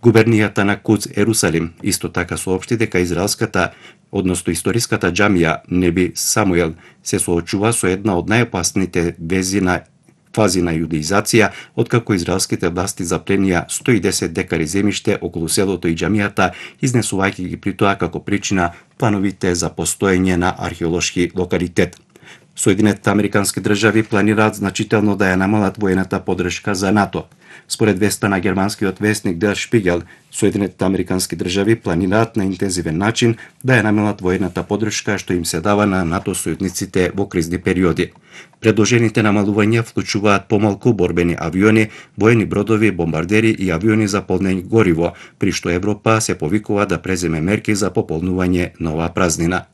Губернијата на Куц Ерусалим исто така соопшти дека односно историската џамија Неби Самуел се соочува со една од најопасните фази на јудеизација, откако израелските власти запленија 110 декари земјиште околу селото и џамијата, изнесувајќи ги при тоа како причина плановите за постоење на археолошки локалитет. Соединетите американски држави планираат значително да ја намалат воената поддршка за НАТО. Според веста на германскиот весник Der Spiegel, Соединетите американски држави планираат на интензивен начин да ја намалат воената поддршка што им се дава на НАТО сојузниците во кризни периоди. Предложените намалувања вклучуваат помалку борбени авиони, воени бродови, бомбардери и авиони за полнење гориво, при што Европа се повикува да преземе мерки за пополнување на оваа празнина.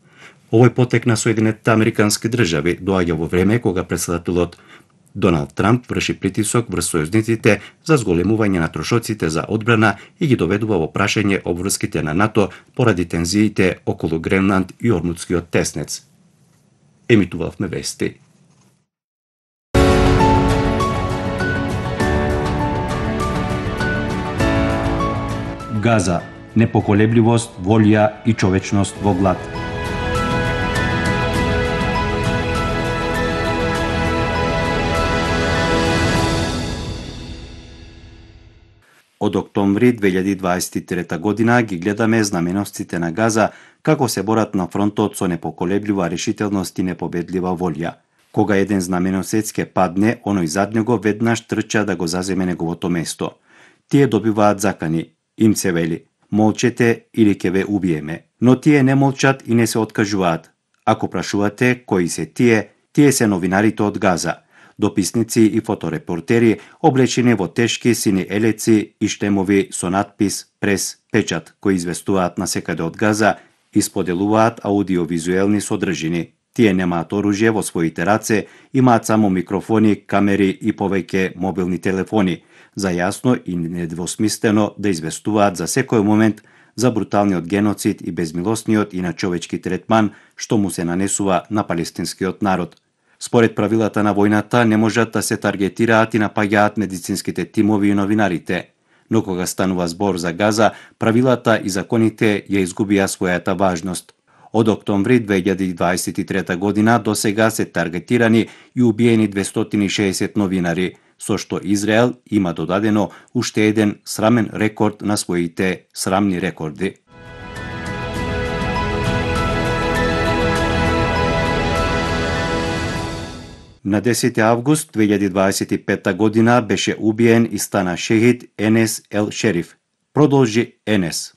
Овој потек на Соединетите американски држави доаѓа во време кога претседателот Доналд Трамп врши притисок врз сојузниците за зголемување на трошоците за одбрана и ги доведува во прашање обврските на НАТО поради тензиите околу Гренланд и Ормудскиот теснец. Емитувавме вести. Газа, непоколебливост, волја и човечност во глад. Од октомври 2023 година ги гледаме знаменосците на Газа како се борат на фронтот со непоколеблива решителност и непобедлива волја. Кога еден знаменосец ке падне, оној зад него веднаш трча да го заземе неговото место. Тие добиваат закани, им се вели: молчете или ќе ве убиеме. Но тие не молчат и не се откажуваат. Ако прашувате кои се тие се новинарите од Газа. Дописници и фоторепортери облечени во тешки сини елеци и штемови со надпис «Прес печат», кои известуваат насекаде од Газа и споделуваат аудиовизуелни содржини. Тие немаат оружје во своите раце, имаат само микрофони, камери и повеќе мобилни телефони, за јасно и недвосмислено да известуваат за секој момент за бруталниот геноцид и безмилосниот и начовечки третман што му се нанесува на палестинскиот народ. Според правилата на војната не можат да се таргетираат и напаѓаат медицинските тимови и новинарите. Но кога станува збор за Газа, правилата и законите ја изгубија својата важност. Од октомври 2023 година до сега се таргетирани и убиени 260 новинари, со што Израел има додадено уште еден срамен рекорд на своите срамни рекорди. На 10 август 2025 година беше убиен и стана шехид Енес Ел Шериф. Продолжи Енес,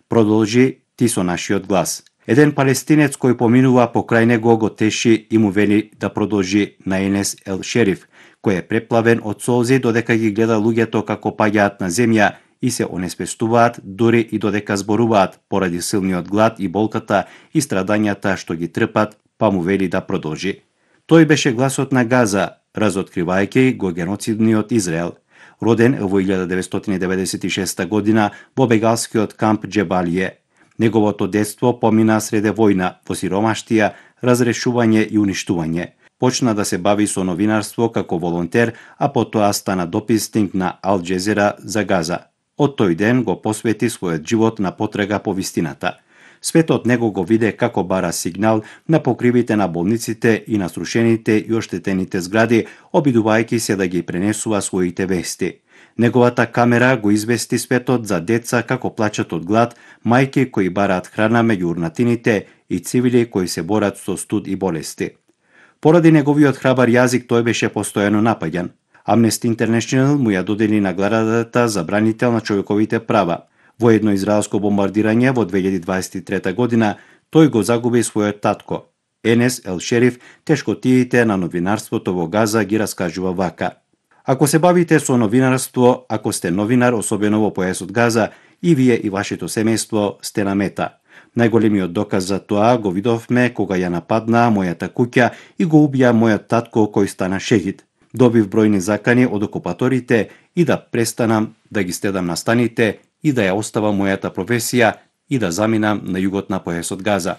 продолжи ти со нашиот глас. Еден палестинец кој поминува покрај него го теши и му вели да продолжи на Енес Ел Шериф, кој е преплавен од солзи додека ги гледа луѓето како паѓаат на земја и се онеспестуваат дури и додека зборуваат поради силниот глад и болката и страдањата што ги трпат, па му вели да продолжи. Тој беше гласот на Газа, разоткривајќи го геноцидниот Израел. Роден во 1996 година во бегалскиот камп Џебалије. Неговото детство помина среде војна, во сиромаштија, разрешување и уништување. Почна да се бави со новинарство како волонтер, а потоа стана дописник на Ал Џезера за Газа. Од тој ден го посвети својот живот на потрага по вистината. Светот него го виде како бара сигнал на покривите на болниците и на срушените и оштетените згради, обидувајќи се да ги пренесува своите вести. Неговата камера го извести светот за деца како плачат од глад, мајки кои бараат храна меѓу урнатините и цивили кои се борат со студ и болести. Поради неговиот храбар јазик тој беше постојано напаѓан. Amnesty International му ја додели наградата за бранител на човековите права. Во едно израелско бомбардирање во 2023 година тој го загуби својот татко. Енес Ел Шериф тешкотиите на новинарството во Газа ги раскажува вака: ако се бавите со новинарство, ако сте новинар, особено во појасот Газа, и вие и вашето семејство сте на мета. Најголемиот доказ за тоа го видовме кога ја нападнаа мојата куќа и го убија мојот татко кој стана шехид. Добив бројни закани од окупаторите и да престанам да ги стедам на станите и да ја оставам мојата професија и да заминам на југот на појасот Газа.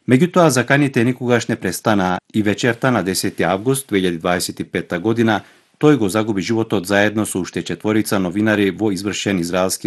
Меѓутоа, заканите никогаш не престанаа и вечерта на 10 август 2025 година Тој го загуби животот заедно со уште 4 новинари во извршен израелски